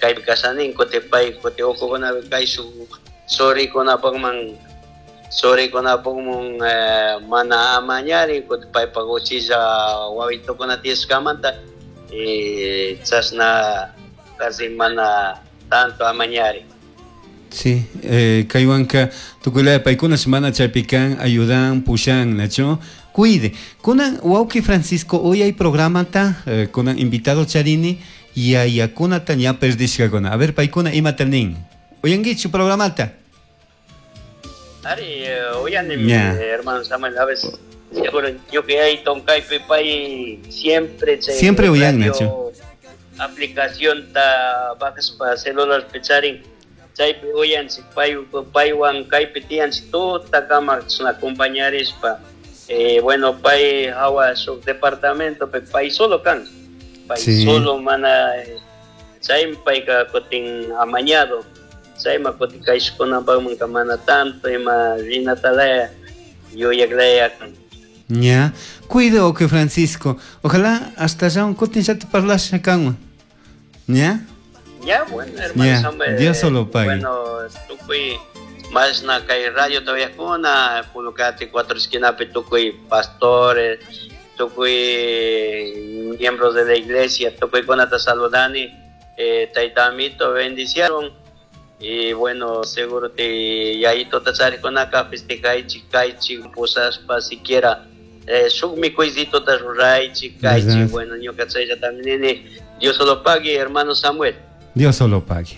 Kaypi kashanin kutin pay kutin ukukunapi kayshuk churikunapakman churikunapakman mana amañarin kutin paypak uchilla wawitukuna tiyashkamanta y chashna casi mana tanto amañarin. Sí, kaywanka tukuylaya paykunash mana chaypi kan ayudan pushan nachu cuide. Kunan wawki Francisco uyay programata kunan invitado charini yayakunata ña perdishkakuna. A ver paykuna imata nin. Uyankichu programata? Ari, uyanimi hermano Samuel, a veces seguro ñuka yayito kaypi pay siempre chay Siempre uyan nachu. Aplicacionta bajaspa celularpi charin chaypi uyanchik pay paywan kaypi tiyanchik tutakama chashna acompañarishpa bueno pay hawa shuk departamentopi pay solo kan pay solo mana chaymi payka kutin amañado chayma kutin kayshukkunapakmanka mana tanto ima rinatalaya yuyaklaya kan. Ña, cuido que Francisco. Ojalá hasta allá un kutin ya te parlasha kanwan. ¿Ya? Ya, bueno, hermano Ya, Samuel, Dios solo pague. Bueno, tukuy mashna kay radio todavía Pulucati, Cuatro Esquinapi, tukuy pastores, tukuy miembros de la iglesia, tukuy kunata saludani, tayta amito bendiciaron. Y bueno, seguro te yayito tacharicunaka festejaichik, kaichik, pusaspa siquiera shuk mikuycito ta ruraichik, kaichik. ¿Verdad? Bueno, ñuka chaylla también nini, Dios solo pague, hermano Samuel. Dios solo pague.